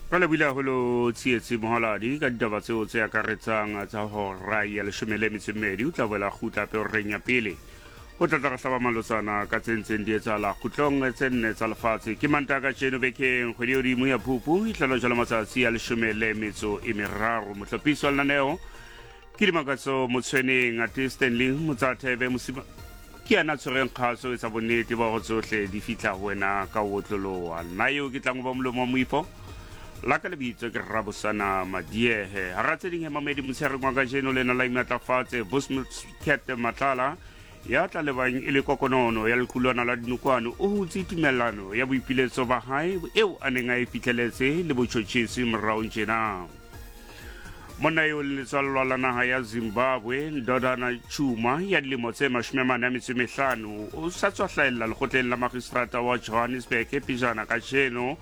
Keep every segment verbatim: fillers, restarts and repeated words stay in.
Re lebohile haholo Tsietsi Moholadi ka ditaba tseo tse akaretsang tsa hora ya leshome le metso e mmedi. O tla boela kgutla hape horeng ya pele ho tla tla re hlaba malotsana ka tse ntseng di etsahala kgutlong tse nne tsa lefatshe. Ke Mantaha kajeno bekeng, kgwedi e hodimo ya Phupu e hlola jwalo matsatsi a leshome le metso e meraro. Mohlophisi wa lenaneo ke Dimakatso Motshweneng, ate Stanley Motsathebe Mosima ke yena a tshwereng kgaso etsa bonnete ba hore tsohle di fihla ho wena ka ho otloloha. Nna eo ke tlang ho ba molomo wa moifo la ka lebitso ke Rabosana Madiehe. Hara tse ding he mamedi motshehareng wa kajeno lena la imatlafatse Vusmcat Matlala ya tla lebang e le kokonono ya lequlwana la dinokwane o hutse tumellano ya boipiletso ba hae eo a neng a e fihleletse le botjhotjhisi moraong tjena. Monna eo le letswallwa la naha ya Zimbabwe Ndodana Chuma ya dilemo tse mashome a mane a metso e mehlano o sa tswa hlahella lekgotleng la magistrata wa Johannesburg pejana kajeno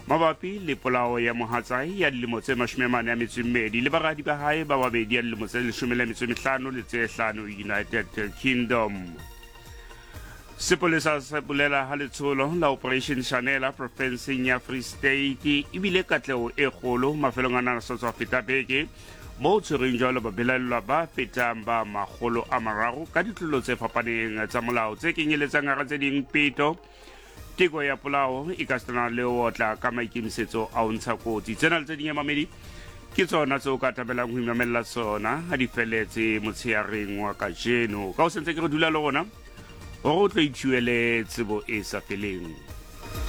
mabapi le polao ya mohatsae ya dilemo tse mashome a mane a metso e mmedi le baradi ba hae ba babedi ya dilemo tse leshome le metso e mehlano le tse hlano United Kingdom. Sepolesa se bolela ha letsholo la Operation Shanela profenseng ya Free State ebile katleho e kgolo mafelong a nana sa tswa feta beke mo tshwereng jwalo babelaellwa ba fetang ba makgolo a mararo ka ditlolo tse fapaneng tsa molao tse kenyeletsang hara tse ding peto, teko ya polao e ka sena le ho otla ka maikemisetso a ho ntsha kotsi. Tsena le tse ding mamedi ke tsona tseo ka thabelang ho imamella tsona ha di feletse motsheareng wa kajeno. Ka ho sentse ke re dula le rona hore o tlo ithuele tsebo e sa feleng.